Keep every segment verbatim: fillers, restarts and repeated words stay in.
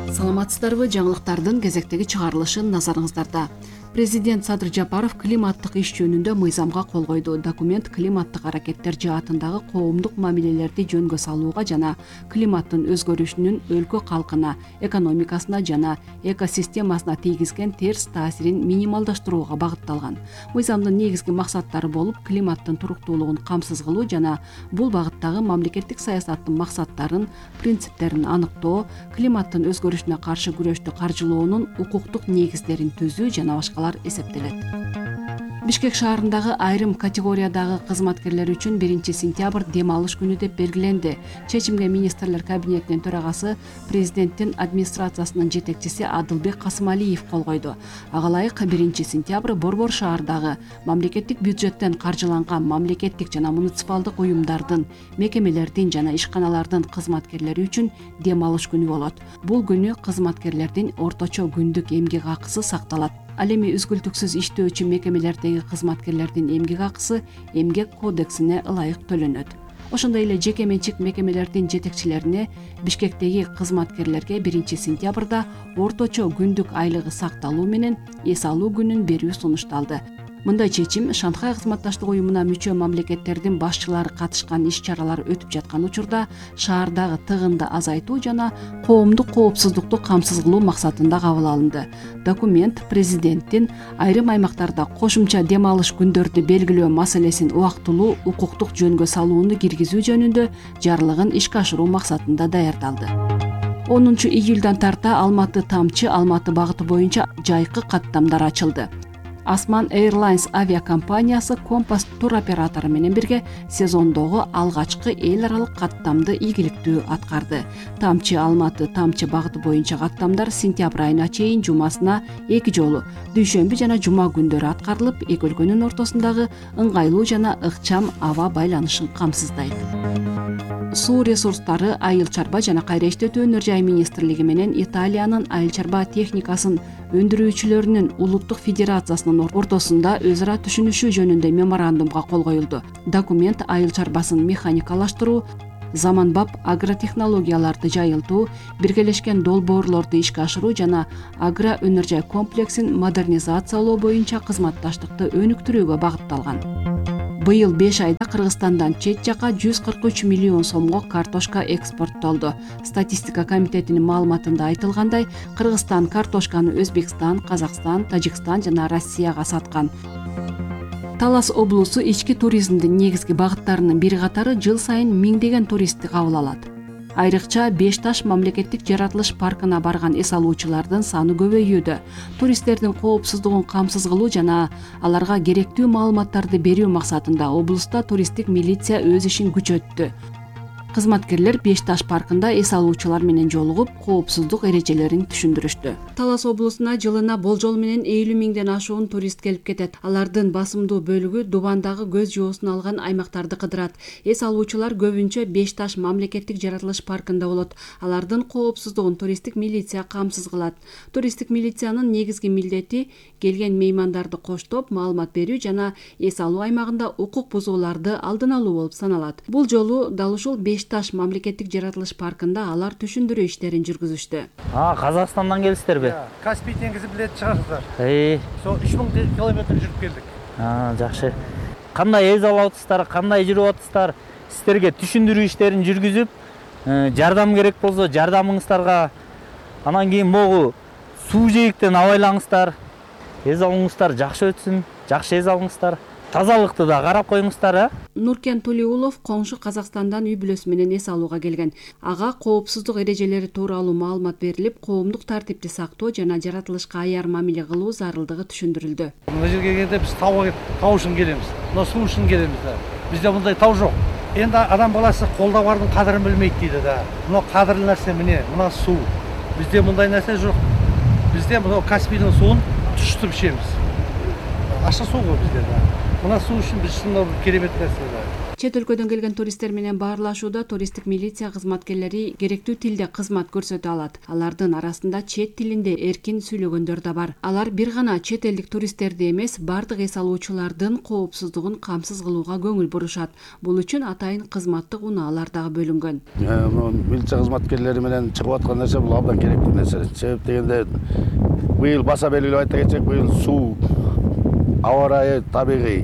Саламатсыздарбы? Жаңылыктардын кезектеги чыгарылышы назарыңыздарда. Президент Садыр Жапаров климаттык иш жөнүндө мыйзамга кол койду. Документ климаттык аракеттер жаатындагы коомдук мамилелерди жөнгө салууга жана климаттын өзгөрүшүнүн өлкө калкына, экономикасына жана экосистемасына тийгизген терс таасирин минималдаштырууга багытталган. Мыйзамдын негизги максаттары болуп, климаттын туруктуулугун камсыз кылуу жана бул багыттагы мамлекеттик саясаттын максаттарын, принциптерин аныктоо, климаттын өзгөрүшүнө каршы күрөштү каржылоонун укуктук негиздерин түзүү жана башкалар эсептелет. Бишкек шаарындагы айрым категориядагы кызматкерлер үчүн биринчи сентябрь дем алыш күнү деп белгиленди. Чечимге министрлер кабинетинин төрагасы, президенттин администрациясынын жетекчиси Адылбек Касымалиев кол койду. Ага ылайык биринчи сентябрь борбор шаардагы мамлекеттик бюджеттен каржыланган мамлекеттик жана муниципалдык уюмдардын, мекемелердин жана ишканалардын кызматкерлери үчүн дем алыш күнү болот. Бул күнү кызматкерлердин орточо күндүк эмгек акысы сакталат. Ал эми үзгүлтүксүз иштөөчү мекемелердеги кызматкерлердин эмгек акысы эмгек кодексине ылайык төлөнөт. Ошондой эле жеке менчик мекемелердин жетекчилерине, Бишкектеги кызматкерлерге биринчи сентябрда орточо күндүк айлыгы сакталуу менен эс алуу күнүн берүү сунушталды. Мындай чечим Шанхай кызматташтык уюмуна мүчө мамлекеттердин башчылары катышкан иш-чаралар өтүп жаткан учурда шаардагы тыгынды азайтуу жана коомдук коопсуздукту камсыз кылуу максатында кабыл алынды. Документ президенттин айрым аймактарда кошумча дем алыш күндөрдү белгилөө маселесин убактылуу укуктук жөнгө салууну киргизүү жөнүндө жарлыгын ишке ашыруу максатында даярдалды. онунчу июлдан тарта Алматы Тамчы Алматы багыты боюнча жайкы каттамдар ачылды. Асман Airlines авиакомпаниясы Компас туроператору менен бирге сезондогу алгачкы эл аралык каттамды ийгиликтүү аткарды. Тамчы Алматы Тамчы багыты боюнча каттамдар сентябрь айына чейин жумасына эки жолу, дүйшөмбү жана жума күндөрү аткарылып, эки өлкөнүн ортосундагы ыңгайлуу жана ыкчам аба байланышын камсыздайт. Суу ресурстары, айыл чарба жана кайра иштетүү өнөр жай министрлиги менен Италиянын айыл чарба техникасын өндүрүүчүлөрүнүн улуттук федерациясынын ортосунда өз ара түшүнүшүү жөнүндө меморандумга кол коюлду. Документ айыл чарбасын механикалаштыруу, заманбап агротехнологияларды жайылтуу, биргелешкен долбоорлорду ишке ашыруу жана агро өнөр жай комплексин модернизациялоо боюнча кызматташтыкты өнүктүрүүгө багытталган. Быйыл беш айда Кыргызстандан чет жака жүз кырк үч миллион сомго картошка экспорттолду. Статистика комитетинин маалыматында айтылгандай, Кыргызстан картошканы Өзбекстан, Казакстан, Тажикстан жана Россияга саткан. Талас облусу ички туризмдин негизги багыттарынын бири катары жыл сайын миңдеген туристти кабыл алат. Айрыкча Беш Таш мамлекеттик жаратылыш паркына барган эс алуучулардын саны көбөйүүдө. Туристтердин коопсуздугун камсыз кылуу жана аларга керектүү маалыматтарды берүү максатында облуста туристтик милиция өз ишин күчөттү. Кызматкерлер Беш Таш паркында эс алуучулар менен жолугуп, коопсуздук эрежелерин түшүндүрүштү. Талас облусуна жылына болжол менен элүү миңден ашуун турист келип кетет. Алардын басымдуу бөлүгү Дубандагы көз жоосун алган аймактарды кыдырат. Эс алуучулар көбүнчө Беш Таш мамлекеттик жаратылыш паркында болот. Алардын коопсуздугун туристтик милиция камсыз кылат. Туристтик милициянын негизги милдети келген меймандарды коштоп, маалымат берүү жана эс алуу аймагында укук бузууларды алдын алуу болуп саналат. Бул жолу дал ушул Беш Таш мамлекеттик жаратылыш паркында алар түшүндүрүү иштерин жүргүзүштү. А, Казакстандан келиңиздерби? Каспий деңизи билет чыгарсыздар. Эй, Со үч миң километр жүрүп келдик. А, жакшы. Кандай эз алып атасыздар, кандай жүрүп атасыздар? Сиздерге түшүндүрүү иштерин жүргүзүп, жардам керек болсо жардамыңыздарга, анан кийин могу суу жээктен абайлаңыздар. Эз алууңуздар жакшы өтсүн, жакшы эз алыңыздар. Тазалыкты да карап коюңуздар, а? Нуркен Тулиулов коңшу Казакстандан үй бүлөсү менен эс алууга келген. Ага коопсуздук эрежелери тууралуу маалымат берилип, коомдук тартипти сактоо жана жаратылышка аяр мамиле кылуу зарылдыгы түшүндүрүлдү. Мына жерге келгенде биз тау тау үчүн келебиз. Мына суу үчүн келебиз да. Бизде мындай тау жок. Энди адам баласы колдо бардын кадырын билмейт дейт да. Мына кадырлуу нерсе мына, мына суу. Бизде мындай нерсе жок. Бизде мына Каспийдин суун түштүп ичебиз. Ашык суу го бизде да. Мына суу үчүн биз ушундай керемет нерсе да. Чет өлкөдөн келген туристтер менен баарлашууда туристтик милиция кызматкерлери керектүү тилде кызмат көрсөтө алат. Алардын арасында чет тилинде эркин сүйлөгөндөр да бар. Алар бир гана чет элдик туристтерди эмес, бардык эс алуучулардын коопсуздугун камсыз кылууга көңүл бурушат. Бул үчүн атайын кызматтык унаалар дагы бөлүнгөн. Милиция кызматкерлери менен чыгып аткан нерсе бул абдан керектүү нерсе. Себеп дегенде быйыл баса белгилеп айта кетсек, быйыл суу, аба ырайы табигый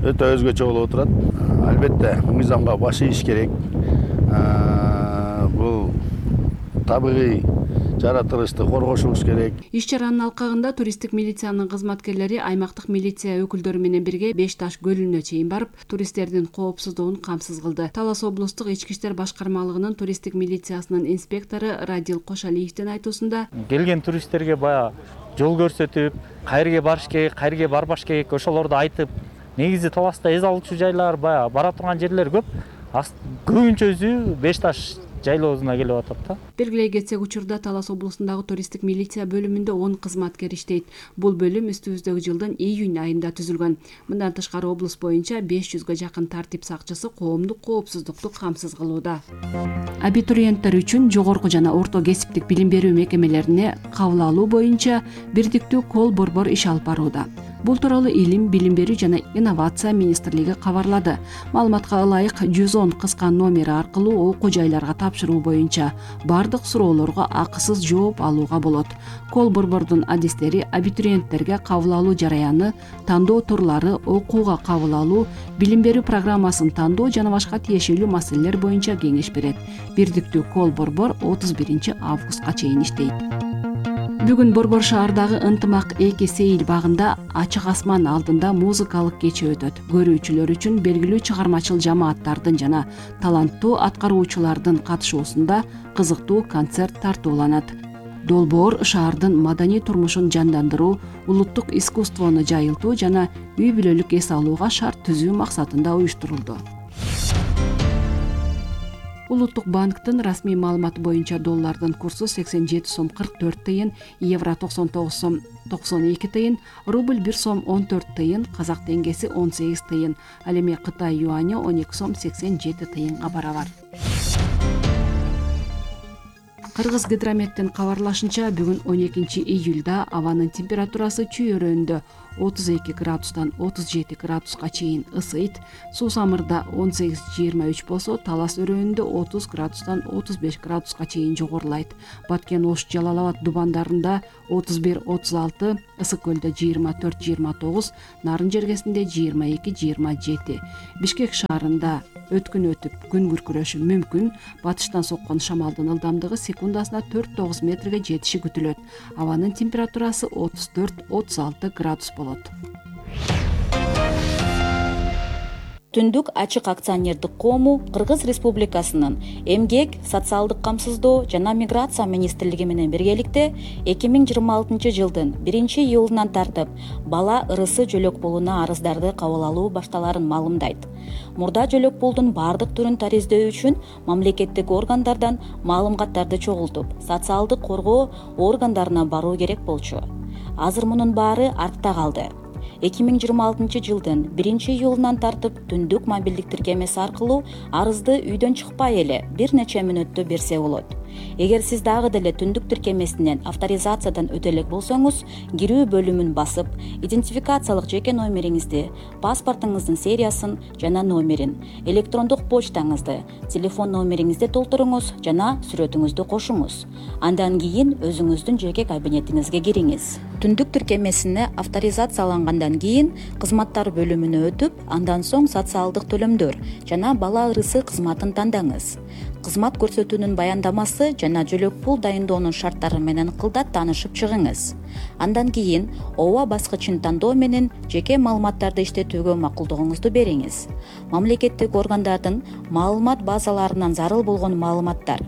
өтө өзгөчө болуп отурат. Албетте мыйзамга баш ийиш керек. Бул табигый жаратылышты коргошубуз керек. Иш чаранын алкагында туристтик милициянын кызматкерлери аймактык милиция өкүлдөрү менен бирге Беш Таш көлүнө чейин барып, туристтердин коопсуздугун камсыз кылды. Талас облустук ички иштер башкармалыгынын туристтик милициясынын инспектору Радил Кошалиевдин айтуусунда, келген туристтерге баягы жол көрсөтүп, кайерге барыш керек, кайерге барбаш керек, ошолорду айтып, негизи Таласта эз алуучу жайлар баягы бара турган жерлер көп. Көбүнчөсү Беш Таш жайлоосуна келип атат да. Белгилей кетсек, учурда Талас облусундагы туристтик милиция бөлүмүндө он кызматкер иштейт. Бул бөлүм үстүбүздөгү жылдын июнь айында түзүлгөн. Мындан тышкары облус боюнча беш жүзгө жакын тартип сакчысы коомдук коопсуздукту камсыз кылууда. Абитуриенттер үчүн жогорку жана орто кесиптик билим берүү мекемелерине кабыл алуу боюнча бирдиктүү кол борбор иш алып барууда. Бул тууралуу Илим, билим берүү жана инновация министрлиги кабарлады. Маалыматка ылайык жүз он кыска номери аркылуу окуу жайларга тапшыруу боюнча бардык суроолорго акысыз жооп алууга болот. Кол борбордун адистери абитуриенттерге кабыл алуу жараяны, тандоо турлары, окууга кабыл алуу, билим берүү программасын тандоо жана башка тиешелүү маселелер боюнча кеңеш берет. Бирдиктүү кол борбор отуз биринчи августка чейин иштейт. Бүгүн Борбор шаардагы Ынтымак эки сейил багында ачык асман алдында музыкалык кече өтөт. Көрүүчүлөр үчүн белгилүү чыгармачыл жамааттардын жана таланттуу аткаруучулардын катышуусунда кызыктуу концерт тартууланат. Долбоор шаардын маданий турмушун жандандыруу, улуттук искусствону жайылтуу жана үй бүлөлүк эс алууга шарт түзүү максатында уюштурулду. Улуттук банктын расмий маалыматы боюнча доллардын курсу сексен жети сом кырк төрт тыйын, евро токсон тогуз сом токсон эки тыйын, рубль бир сом он төрт тыйын, казак теңгеси он сегиз тыйын, ал эми Кытай юаньы он эки сом сексен жети тыйынга барабар. Кыргыз гидрометтин кабарлашынча, бүгүн он экинчи июлда абанын температурасы Чүй өрөөнүндө отуз эки градустан отуз жети градуска чейин ысыйт. Суусамырда он сегиз жыйырма үч болсо, Талас өрөөнүндө отуз градустан отуз беш градуска чейин жогорулайт. Баткен, Ош, Жалал Абад дубандарында отуз бир отуз алты, Ысык көлдө жыйырма төрт жыйырма тогуз, Нарын жергесинде жыйырма эки жыйырма жети. Бишкек шаарында өткүн өтүп күн күркүрөшү мүмкүн. Батыштан соккон шамалдын ылдамдыгы секундасына төрт тогуз метрге жетиши күтүлөт. Абанын температурасы отуз төрт отуз алты градус болот. Түндүк ачык акционердик коому Кыргыз Республикасынын Эмгек, социалдык камсыздоо жана миграция министрлиги менен биргеликте эки миң жыйырма алтынчы жылдын биринчи июлунан тартып бала ырысы жөлөк пулуна арыздарды кабыл алуу башталарын маалымдайт. Мурда жөлөк пулдун бардык түрүн тариздөө үчүн мамлекеттик органдардан маалыматтарды чогултуп, социалдык коргоо органдарына баруу керек болчу. Азыр мунун баары артта калды. эки миң жыйырма алтынчы жылдын биринчи июлунан тартып түндүк мобилдик тиркемеси аркылуу арызды үйдөн чыкпай эле бир нече мүнөттө берсе болот. Эгер сиз дагы деле түндүк тиркемесинен авторизациядан өтө элек болсоңуз, кирүү бөлүмүн басып, идентификациялык жеке номериңизди, паспортуңуздун сериясын жана номерин, электрондук почтаңызды, телефон номериңизди толтуруңуз жана сүрөтүңүздү кошуңуз. Андан кийин өзүңүздүн жеке кабинетиңизге кириңиз. Түндүк тиркемесине авторизациялангандан кийин кызматтар бөлүмүнө өтүп, андан соң социалдык төлөмдөр жана бала ырысы кызматын тандаңыз. Кызмат көрсөтүүнүн баяндамасы жана жөлөк пул дайындоонун шарттары менен кылдат таанышып чыгыңыз. Андан кийин ооба баскычын тандоо менен жеке маалыматтарды иштетүүгө макулдугуңузду бериңиз. Мамлекеттик органдардын маалымат базаларынан зарыл болгон маалыматтар,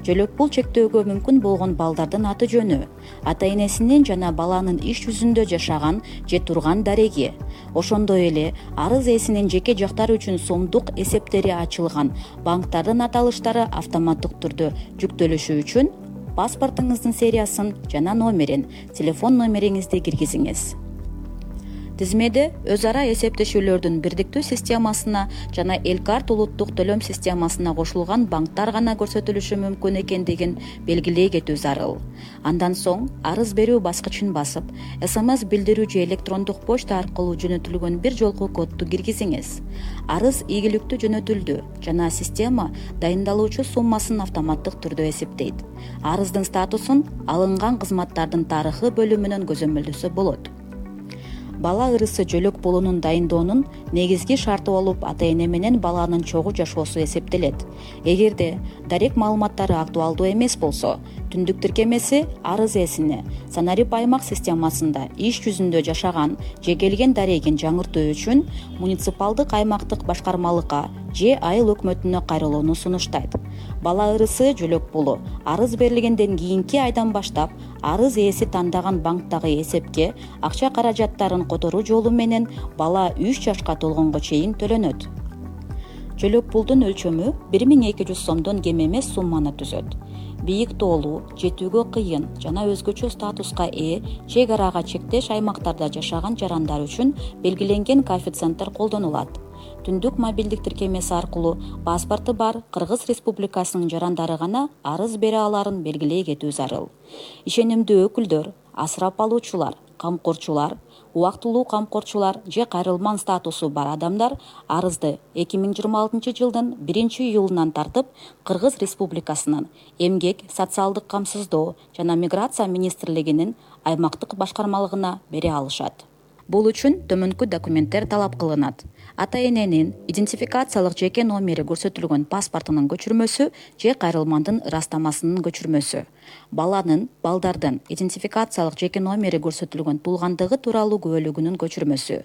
жөлөк пул чектөөгө мүмкүн болгон балдардын аты жөнү, ата энесинин жана баланын иш жүзүндө жашаган же турган дареги, ошондой эле арыз ээсинин жеке жактары үчүн сомдук эсептери ачылган банктардын аталыштары автоматтык түрдө жүктөлүшү үчүн паспортуңуздун сериясын жана номерин, телефон номериңизди киргизиңиз. Тизмеде өз ара эсептешүүлөрдүн бирдиктүү системасына жана Элкарт улуттук төлөм системасына кошулган банктар гана көрсөтүлүшү мүмкүн экендигин белгилей кетүү зарыл. Андан соң арыз берүү баскычын басып, СМС билдирүү же электрондук почта аркылуу жөнөтүлгөн бир жолку кодду киргизиңиз. Арыз ийгиликтүү жөнөтүлдү жана система дайындалуучу суммасын автоматтык түрдө эсептейт. Арыздын статусун алынган кызматтардын тарыхы бөлүмүнөн көзөмөлдөсө болот. Бала ырысы жөлөк болуунун дайындоонун негизги шарты болуп ата-эне менен баланын чогуу жашоосу эсептелет. Эгерде дарек маалыматтары актуалдуу эмес болсо, түндүк тиркемеси арыз ээсине Санарип аймак системасында иш жүзүндө жашаган же келген дарегин жаңыртуу үчүн муниципалдык аймактык башкармалыкка же айыл өкмөтүнө кайрылууну сунуштайт. Бала ырысы жөлөк болуу арыз берилгенден кийинки айдан баштап арыз ээси тандаган банктагы эсепке акча каражаттарын которуу жолу менен бала үч жашка толгонго чейин төлөнөт. Жөлөк пулдун өлчөмү бир миң эки жүз сомдон кем эмес сумманы түзөт. Бийик тоолуу, жетүүгө кыйын жана өзгөчө статуска ээ чек арага чектеш аймактарда жашаган жарандар үчүн белгиленген коэффициенттер колдонулат. Түндүк мобилдик тиркемеси аркылуу паспорту бар Кыргыз Республикасынын жарандары гана арыз бере аларын белгилей кетүү зарыл. Ишенимдүү өкүлдөр, асырап алуучулар, камкорчулар, убактылуу камкорчулар же кайрылман статусу бар адамдар арызды эки миң жыйырма алтынчы жылдын биринчи июлунан тартып Кыргыз Республикасынын Эмгек, социалдык камсыздоо жана миграция министрлигинин аймактык башкармалыгына бере алышат. Бул үчүн төмөнкү документтер талап кылынат. Ата-эненин идентификациялык жеке номери көрсөтүлгөн паспортунун көчүрмөсү же кайрылмандын ырастамасынын көчүрмөсү. Баланын, балдардын идентификациялык жеке номери көрсөтүлгөн туулгандыгы тууралуу күбөлүгүнүн көчүрмөсү.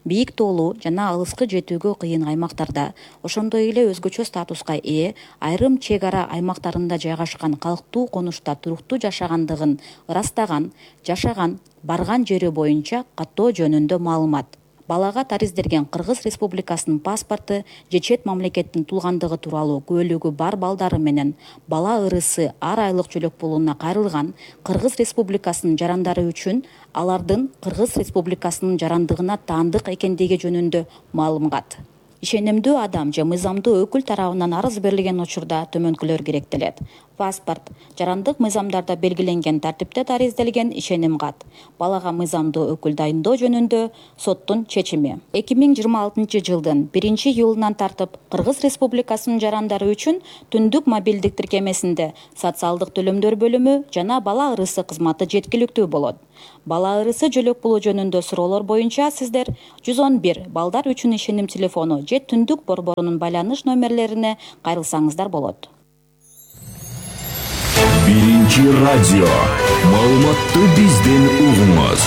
Бийик тоолуу жана алыскы жетүүгө кыйын аймактарда, ошондой эле өзгөчө статуска ээ айрым чек ара аймактарында жайгашкан калктуу конушта туруктуу жашагандыгын ырастаган, жашаган, барган жери боюнча каттоо жөнүндө маалымат. Балага тариздерген Кыргыз Республикасынын паспорту же чет мамлекеттин туулгандыгы тууралуу күбөлүгү бар балдары менен бала ырысы ар айлык жөлөк пулуна кайрылган Кыргыз Республикасынын жарандары үчүн алардын Кыргыз Республикасынын жарандыгына таандык экендиги жөнүндө маалымат. Ишенимдүү адам же мыйзамдуу өкүл тарабынан арыз берилген учурда төмөнкүлөр керектелет. Паспорт, жарандык мыйзамдарда белгиленген тартипте таризделген ишеним кат. Балага мыйзамдуу өкүл дайындоо жөнүндө соттун чечими. эки миң жыйырма алтынчы жылдын биринчи июлунан тартып Кыргыз Республикасынын жарандары үчүн түндүк мобилдик тиркемесинде социалдык төлөмдөр бөлүмү жана бала ырысы кызматы жеткиликтүү болот. Бала ырысы жөлөк болуу жөнүндө суроолор боюнча сиздер жүз он бир балдар үчүн ишеним телефону же түндүк борборунун байланыш номерлерине кайрылсаңыздар болот. Биринчи радио. Маалыматты бизден угуңуз.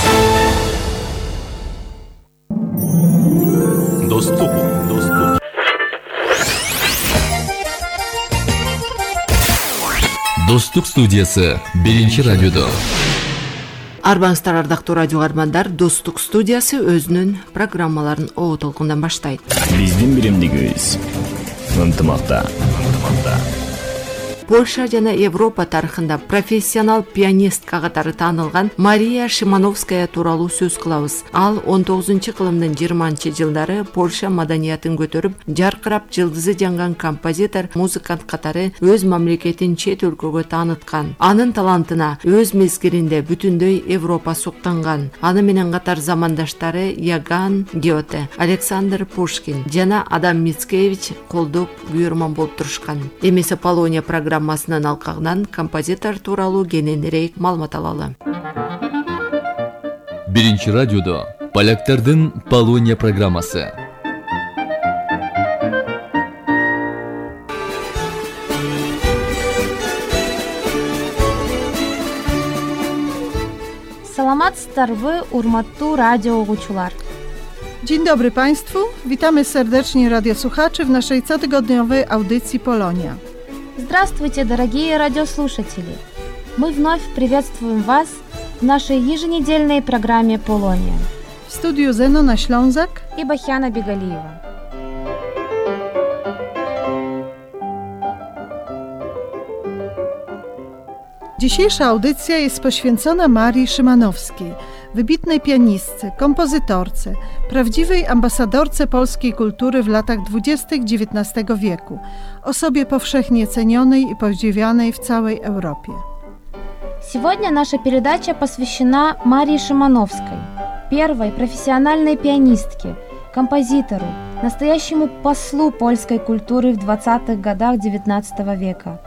Достук, достук. Достук студиясы биринчи радиодо. Арбаңыздар ардактуу радио каармандар, Достук студиясы өзүнүн программаларын о толкундан баштайт. Биздин биримдигибиз ынтымакта. Ынтымакта. Польша жана Европа тарыхында профессионал пианистка катары таанылган Мария Шимановская тууралуу сөз кылабыз. Ал он тогузунчу кылымдын жыйырманчы жылдары Польша маданиятын көтөрүп, жаркырап жылдызы жанган композитор, музыкант катары өз мамлекетин чет өлкөгө тааныткан. Анын талантына өз мезгилинде бүтүндөй Европа суктанган. Аны менен катар замандаштары Яган Гёте, Александр Пушкин жана Адам Мицкевич колдоп күйөрман болуп турушкан. Эмесе Полония программасынын алкагынан композитор тууралуу кененирээк маалымат алалы. Биринчи радиодо поляктардын Полония программасы. Саламатсыздарбы, урматтуу радио угуучулар. Dzień dobry Państwu, witamy serdecznie radiosłuchaczy w naszej cotygodniowej audycji Polonia. Здравствуйте, дорогие радиослушатели! Мы вновь приветствуем вас в нашей еженедельной программе «Полония». W studiu Zenona Ślązak и Бахяна Бегалиева. Dzisiejsza audycja jest poświęcona Marii Szymanowskiej. wybitnej pianistce, kompozytorce, prawdziwej ambasadorce polskiej kultury w latach dwudziestych dziewiętnastego wieku, osobie powszechnie cenionej i podziwianej w całej Europie. Сегодня наша передача посвящена Марии Шимановской, первой профессиональной пианистке, композитору, настоящему послу польской культуры в двадцатых годах девятнадцатого века.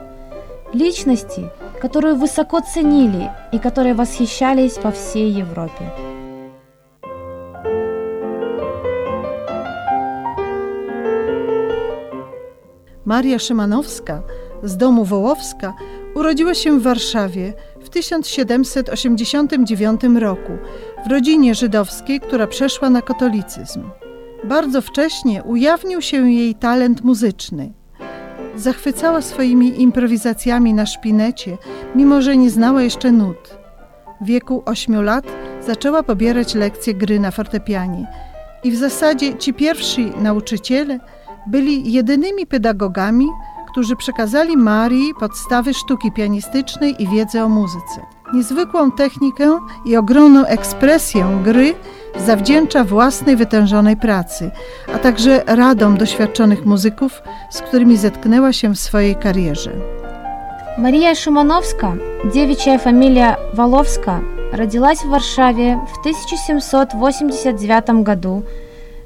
Личности, которую высоко ценили и которой восхищались по всей Европе. Maria Szymanowska z domu Wołowska urodziła się w Warszawie w tysiąc siedemset osiemdziesiątym dziewiątym roku w rodzinie żydowskiej, która przeszła na katolicyzm. Bardzo wcześnie ujawnił się jej talent muzyczny. Zachwycała swoimi improwizacjami na szpinecie, mimo że nie znała jeszcze nut. W wieku ośmiu lat zaczęła pobierać lekcje gry na fortepianie i w zasadzie ci pierwsi nauczyciele byli jedynymi pedagogami, którzy przekazali Marii podstawy sztuki pianistycznej i wiedzę o muzyce. Niezwykłą technikę i ogromną ekspresję gry zawdzięcza własnej wytężonej pracy, a także radom doświadczonych muzyków, z którymi zetknęła się w swojej karierze. Мария Шимановska, девичья фамилия Воловска, родилась в Варшаве в тысяча семьсот восемьдесят девятом году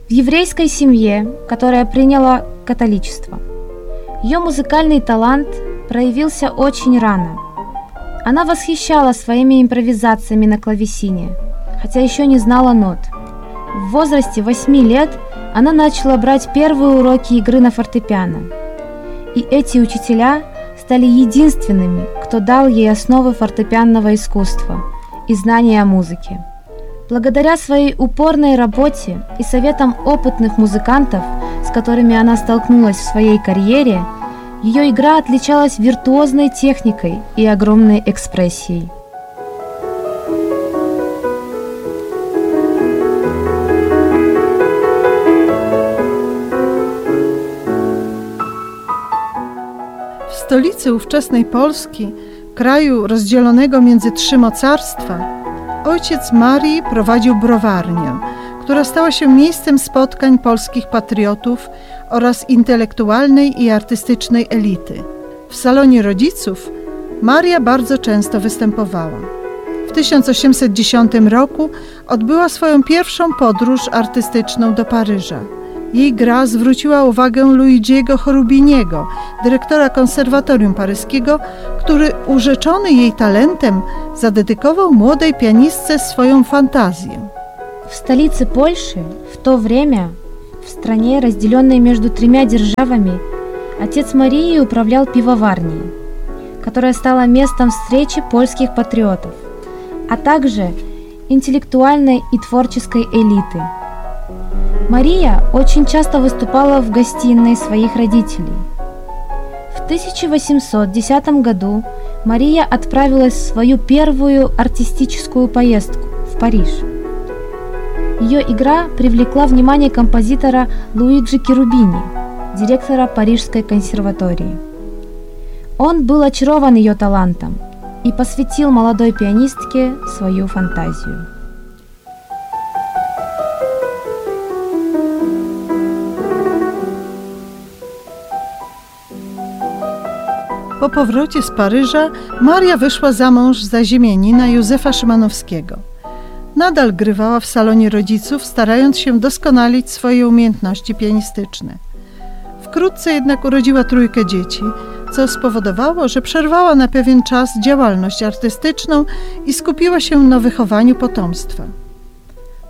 в еврейской семье, которая приняла католичество. Ее музыкальный талант проявился очень рано. Она восхищала своими импровизациями на клавесине, хотя еще не знала нот. В возрасте восьми лет она начала брать первые уроки игры на фортепиано. И эти учителя стали единственными, кто дал ей основы фортепианного искусства и знания о музыке. Благодаря своей упорной работе и советам опытных музыкантов, с которыми она столкнулась в своей карьере, ее игра отличалась виртуозной техникой и огромной экспрессией. W stolicy ówczesnej Polski, kraju rozdzielonego między trzy mocarstwa, ojciec Marii prowadził browarnię, która stała się miejscem spotkań polskich patriotów oraz intelektualnej i artystycznej elity. W salonie rodziców Maria bardzo często występowała. W tysiąc osiemset dziesiątym roku odbyła swoją pierwszą podróż artystyczną do Paryża. Jej gra zwróciła uwagę Luigiego Cherubiniego, dyrektora konserwatorium paryskiego, który urzeczony jej talentem zadedykował młodej pianistce swoją fantazję. В столице Польши в то время, в стране, разделенной между тремя державами, отец Марии управлял пивоварней, которая стала местом встречи польских патриотов, а также интеллектуальной и творческой элиты. Мария очень часто выступала в гостиной своих родителей. В тысяча восемьсот десятом году Мария отправилась в свою первую артистическую поездку в Париж. Ее игра привлекла внимание композитора Луиджи Cherubini, директора Парижской консерватории. Он был очарован ее талантом и посвятил молодой пианистке свою фантазию. Po powrocie z Paryża Maria wyszła za mąż za ziemianina Józefa Szymanowskiego. Nadal grywała w salonie rodziców, starając się doskonalić swoje umiejętności pianistyczne. Wkrótce jednak urodziła trójkę dzieci, co spowodowało, że przerwała na pewien czas działalność artystyczną i skupiła się na wychowaniu potomstwa.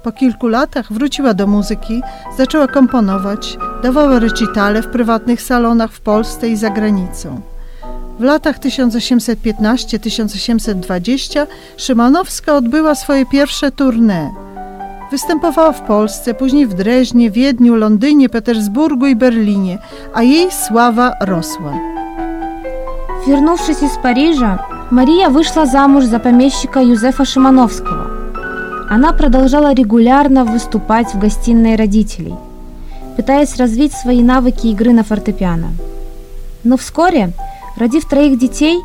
Po kilku latach wróciła do muzyki, zaczęła komponować, dawała recitale w prywatnych salonach w Polsce i za granicą. W latach tysiąc osiemset piętnastym do tysiąc osiemset dwudziestego Szymanowska odbyła swoje pierwsze tournée. Występowała w Polsce, później w Dreźnie, Wiedniu, Londynie, Petersburgu i Berlinie, a jej sława rosła. Вернувшись из Парижа, Мария вышла замуж за помещика Юзефа Шимановского. Она продолжала регулярно выступать в гостиной родителей, пытаясь развить свои навыки игры на фортепиано. Но вскоре, родив троих детей,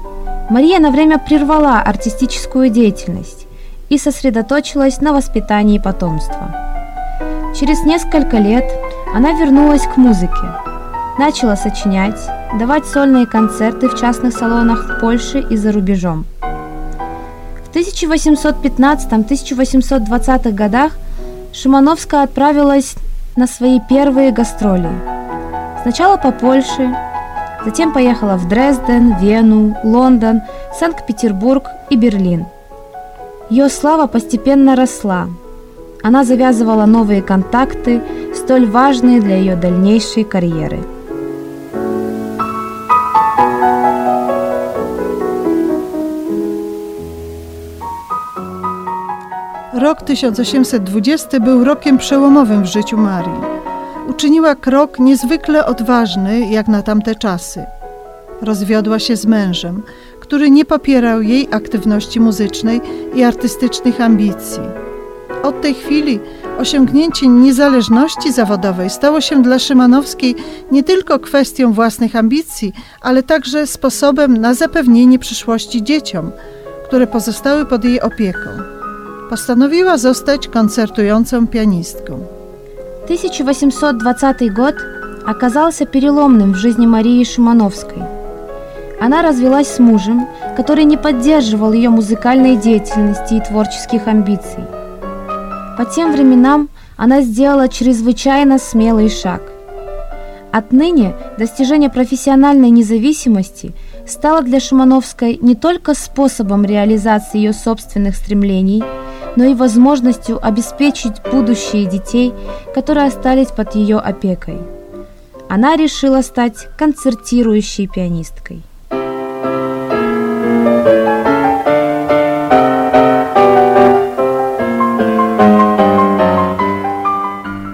Мария на время прервала артистическую деятельность и и сосредоточилась на воспитании потомства. Через несколько лет она вернулась к музыке, начала сочинять, давать сольные концерты в частных салонах в Польше и за рубежом. В тысяча восемьсот пятнадцатом — тысяча восемьсот двадцатых годах Шимановская отправилась на свои первые гастроли. Сначала по Польше, затем поехала в Дрезден, Вену, Лондон, Санкт-Петербург и Берлин. Ее слава постепенно росла. Она завязывала новые контакты, столь важные для ее дальнейшей карьеры. Rok tysiąc osiemset dwudziesty był rokiem przełomowym w życiu Marii. Uczyniła krok niezwykle odważny jak na tamte czasy. Rozwiodła się z mężem, który nie popierał jej aktywności muzycznej i artystycznych ambicji. Od tej chwili osiągnięcie niezależności zawodowej stało się dla Szymanowskiej nie tylko kwestią własnych ambicji, ale także sposobem na zapewnienie przyszłości dzieciom, które pozostały pod jej opieką. Postanowiła zostać koncertującą pianistką. тысяча восемьсот двадцатый год оказался переломным в жизни Марии Шимановской. Она развелась с мужем, который не поддерживал ее музыкальной деятельности и творческих амбиций. По тем временам она сделала чрезвычайно смелый шаг. Отныне достижение профессиональной независимости стало для Шимановской не только способом реализации ее собственных стремлений, но и возможностью обеспечить будущее детей, которые остались под ее опекой. Она решила стать концертирующей пианисткой.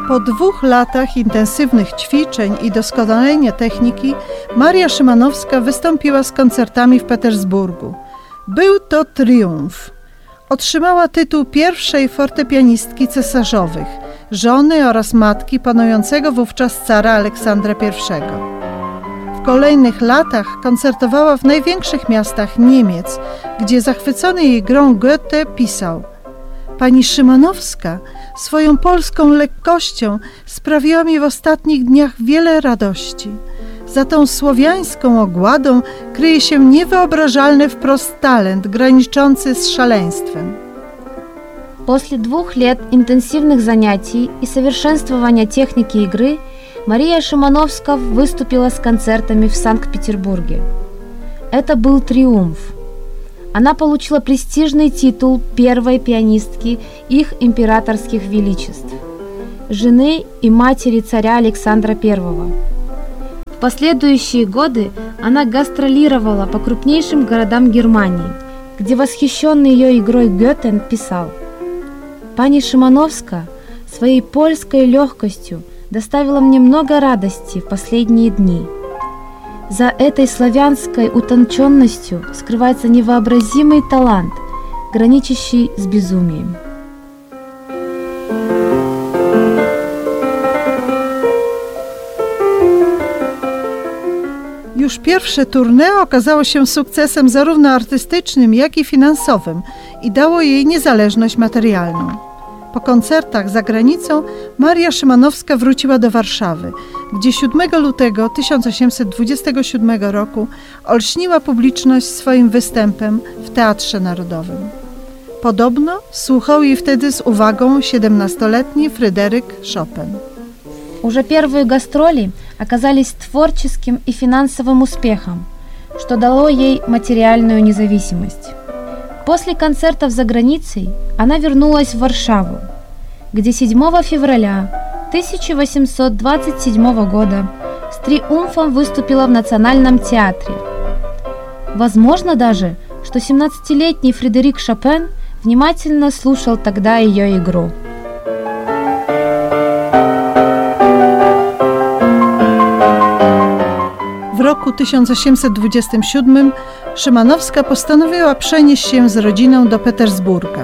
Po dwóch latach intensywnych ćwiczeń i doskonalenia techniki Maria Szymanowska wystąpiła z koncertami w Petersburgu. Był to triumf. Otrzymała tytuł pierwszej fortepianistki cesarzowych, żony oraz matki panującego wówczas cara Aleksandra pierwszego. W kolejnych latach koncertowała w największych miastach Niemiec, gdzie zachwycony jej grą Goethe pisał: Pani Szymanowska swoją polską lekkością sprawiła mi w ostatnich dniach wiele radości. Za tą słowiańską ogładą kryje się niewyobrażalny wprost talent, graniczący z szaleństwem. После двух лет интенсивных занятий и совершенствования техники игры Мария Шимановская выступила с концертами в Санкт-Петербурге. Это был триумф. Она получила престижный титул первой пианистки их императорских величеств, жены и матери царя Александра первого. В последующие годы она гастролировала по крупнейшим городам Германии, где восхищенный ее игрой Гёте писал: «Пани Шимановская своей польской легкостью доставила мне много радости в последние дни. За этой славянской утонченностью скрывается невообразимый талант, граничащий с безумием». Już pierwsze tournée okazało się sukcesem zarówno artystycznym, jak i finansowym i dało jej niezależność materialną. Po koncertach za granicą Maria Szymanowska wróciła do Warszawy, gdzie siódmego lutego tysiąc osiemset dwudziestego siódmego roku olśniła publiczność swoim występem w Teatrze Narodowym. Podobno słuchał jej wtedy z uwagą siedemnastoletni Fryderyk Chopin. Уже первые гастроли оказались творческим и финансовым успехом, что дало ей материальную независимость. После концертов за границей она вернулась в Варшаву, где седьмого февраля тысяча восемьсот двадцать седьмого года с триумфом выступила в Национальном театре. Возможно даже, что семнадцатилетний Фредерик Шопен внимательно слушал тогда ее игру. W roku tysiąc osiemset dwudziestym siódmym Szymanowska postanowiła przenieść się z rodziną do Petersburga.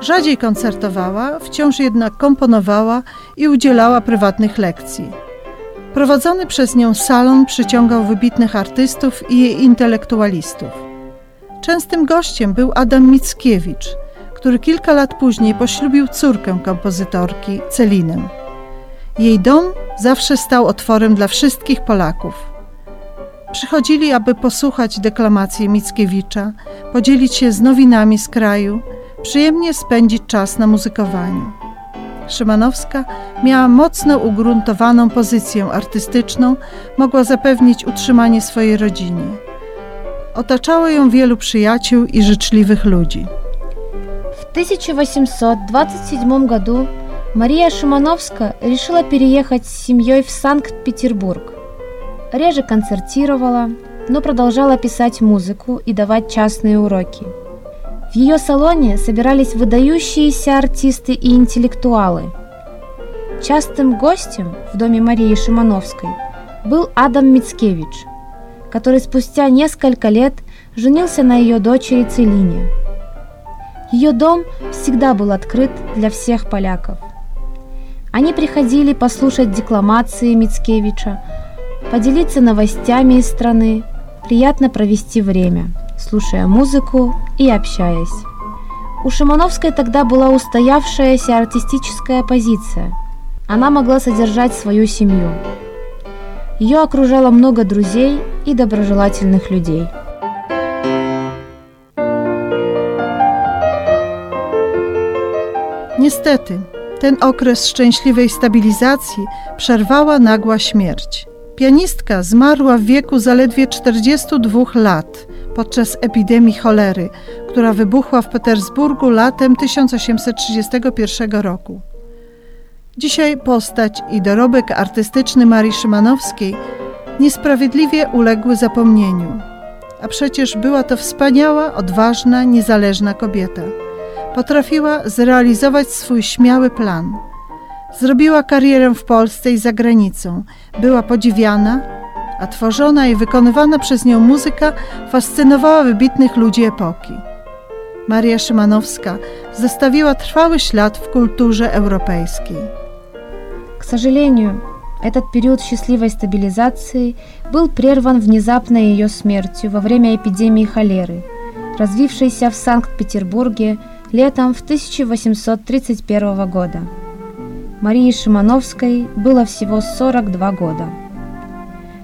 Rzadziej koncertowała, wciąż jednak komponowała i udzielała prywatnych lekcji. Prowadzony przez nią salon przyciągał wybitnych artystów i intelektualistów. Częstym gościem był Adam Mickiewicz, który kilka lat później poślubił córkę kompozytorki, Celinę. Jej dom zawsze stał otworem dla wszystkich Polaków. Przychodzili, aby posłuchać deklamacji Mickiewicza, podzielić się z nowinami z kraju, przyjemnie spędzić czas na muzykowaniu. Szymanowska miała mocno ugruntowaną pozycję artystyczną, mogła zapewnić utrzymanie swojej rodzinie. Otaczało ją wielu przyjaciół i życzliwych ludzi. В тысяча восемьсот двадцать седьмом году Мария Шимановская решила переехать с семьей в Санкт-Петербург. Реже концертировала, но продолжала писать музыку и давать частные уроки. В ее салоне собирались выдающиеся артисты и интеллектуалы. Частым гостем в доме Марии Шимановской был Адам Мицкевич, который спустя несколько лет женился на ее дочери Целине. Ее дом всегда был открыт для всех поляков. Они приходили послушать декламации Мицкевича, поделиться новостями из страны, приятно провести время, слушая музыку и общаясь. У Шимановской тогда была устоявшаяся артистическая позиция. Она могла содержать свою семью. Ее окружало много друзей и доброжелательных людей. Niestety, ten okres szczęśliwej stabilizacji przerwała nagła śmierć. Pianistka zmarła w wieku zaledwie czterdziestu dwóch lat podczas epidemii cholery, która wybuchła w Petersburgu latem tysiąc osiemset trzydziestego pierwszego roku. Dzisiaj postać i dorobek artystyczny Marii Szymanowskiej niesprawiedliwie uległy zapomnieniu. A przecież była to wspaniała, odważna, niezależna kobieta. Potrafiła zrealizować swój śmiały plan. Zrobiła karierę w Polsce i za granicą. Była podziwiana, a tworzona i wykonywana przez nią muzyka fascynowała wybitnych ludzi epoki. Maria Szymanowska zostawiła trwały ślad w kulturze europejskiej. К сожалению, этот период счастливой стабилизации был прерван внезапной ее смертью во время эпидемии холеры, развившейся в Санкт-Петербурге летом в тысяча восемьсот тридцать первого года. Марии Шимановской было всего сорок два года.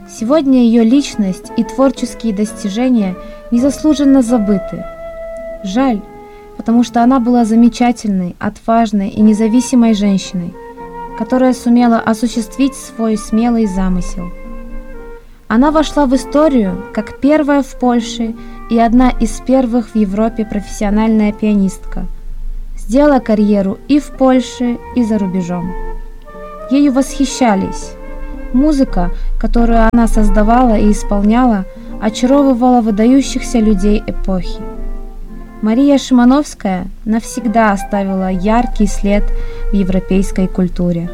Сегодня ее личность и творческие достижения незаслуженно забыты. Жаль, потому что она была замечательной, отважной и независимой женщиной, которая сумела осуществить свой смелый замысел. Она вошла в историю как первая в Польше и одна из первых в Европе профессиональная пианистка. Сделала карьеру и в Польше, и за рубежом. Ею восхищались. Музыка, которую она создавала и исполняла, очаровывала выдающихся людей эпохи. Мария Шимановская навсегда оставила яркий след в европейской культуре.